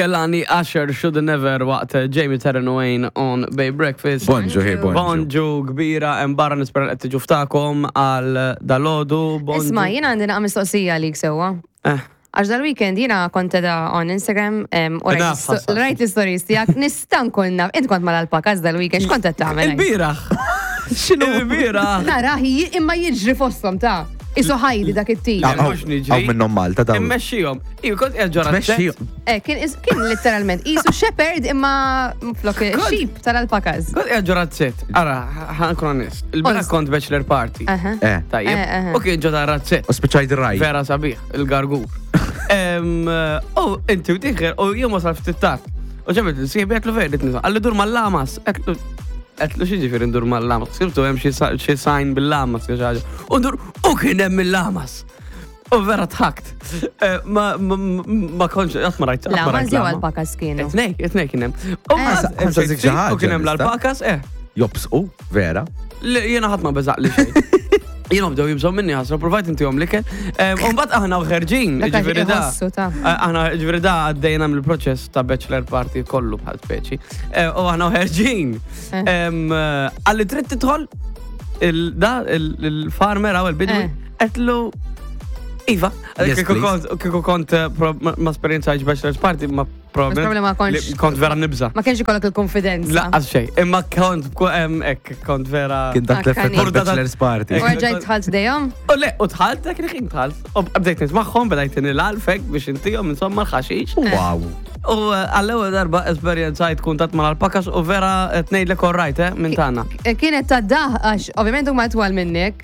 Kelani Asher Should Never waqt Jamie Taryn Wayne on Bay Breakfast. Bonġu, hi, bonġu. Bonġu kbira, hemm barra nispera qed tiġu ftakom għal dalodu. Bonġu. Isma, jiena għandi naqa mistoqsija għalik sewwa. Eh. Għax dal-weekend jiena kont edha on Instagram u rajt Naf, ħassa. rajt l-stories tiegħek nista' nkun naf. Int kont mal-alpakas dal-weekend, x'kont qed tagħmel? Il-biraħ. X'inhu? Il-biraħ. Nara, imma jiġri fosthom ta' Isu ħajdi dak it-tip. Ah, Mhux niġri. Hawn minnhom Malta dawn. Immexxihom. Iva, kont qiegħed ġo razzett. Tmexxihom. Eh, kien is- kien literalment isu shepherd imma flok sheep tal-alpakas. Kont qiegħed ġo razzett. Ara, ħankun onest. Il-biraħ Onest. kont bachelor party. Aha. Eh. Tajjeb. Eh, eh. U kien ġo ta' razzett. U spiċċajt raj. Vera sabiħ, il-gargur. Em, U inti u tiħer, u jien wasal ftit tard. U ġabet l-sieħbi għetlu vera nisa. Għalli dur mal-lamas. Għetlu għetlu xi ġifieri ndur mal-lamas. Sibtu hemm xi sa- xi sign bil-lamas xi ħaġa. U ndur u kien hemm il-lamas. U vera tħakt. Eh, Ma ma- ma kontx qatt ma rajt. qatt ma La, ma rajt jew lama. alpakas kienu. Etnej, etnej kien hemm. U Eh. mbagħad Ħa nsaqsik xi ħaġa, U kien hemm nista'? l-alpakas, eh. Jobsqu, vera. Le, Jiena ħadd ma beżaq li xejn. Jiena bdew jibżgħu minni ħasra, provajt intihom l-ikel. U mbagħad aħna ħerġin, Dak għax ġifieri da. iħossu ta' Eh, Aħna ġifieri da għaddejna mill-proċess ta' bachelor party kollu bħal speċi. Eh, U aħna ħerġin. Eh. Għalli trid tidħol il-da il-farmer għaw il-bidwi, Eh. għetlu Iva, Yes, kieku please. kont- kieku kont eh, ma ma esperjenzajx bachelor's party, ma Probably ma kontx- li Kont vera nibża. Ma kienx ikollok il-konfidenza. Laqqas xejn, imma kont ek, kont vera. Kien dak l-effett Akkanit. tal-bachelor's party. U rġajt tħalt dejjem? U le, u tħalt, dak il-ħin tħalt. U bdejt nismaħħom, bdejt nil-alfek biex intijom, insomma, l-ħaxix. Wow. U eh, għall-ewwel darba esperjenzajt kuntatt mal-alpakas u vera tnejdlek all right, eh, minn tagħna. Kienet ta' daħ, għax ovvjament huma twal minnek.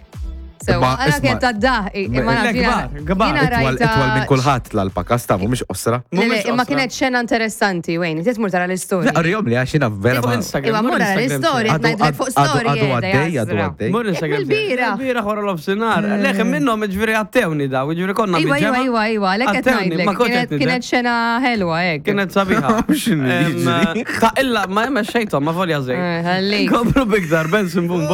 So, Imma, għala isma' kienet ta' daħ, imma Le, naf jiena- kbar, kbar. jiena Itwal rajta- itwal minn kulħadd l-alpakas ta' mhumiex qosra. Le, le, Mhumiex Imma qosra. kienet xena interessanti, Wayne, titmur tara l-istorja. Rjom li għax jiena vera Fuq ma. Instagram. Iwa, mur mur ara Instagram l-istorja, tiegħi. Għadu ngħidlek fuq għadu story. għadu qiegħda, għaddej, għadu jasra. għaddej. Mur Instagram. il-bira. Il-bira wara l-ofsinar. Leħ minnhom ġifieri għattewni daw, ġifieri konna Iwa, iwa, mill-ġemgħa. iwa, iwa, lek qed Għattewni, ngħidlek. ma kontx Kienet- qed Kienet xena ħelwa hekk. Kienet sabiħa. X'inhu Em, jiġri? Ta' illa, ma xejtom, ma volja Eh, zej. ħallik. Komplu biktar, Benson Boom.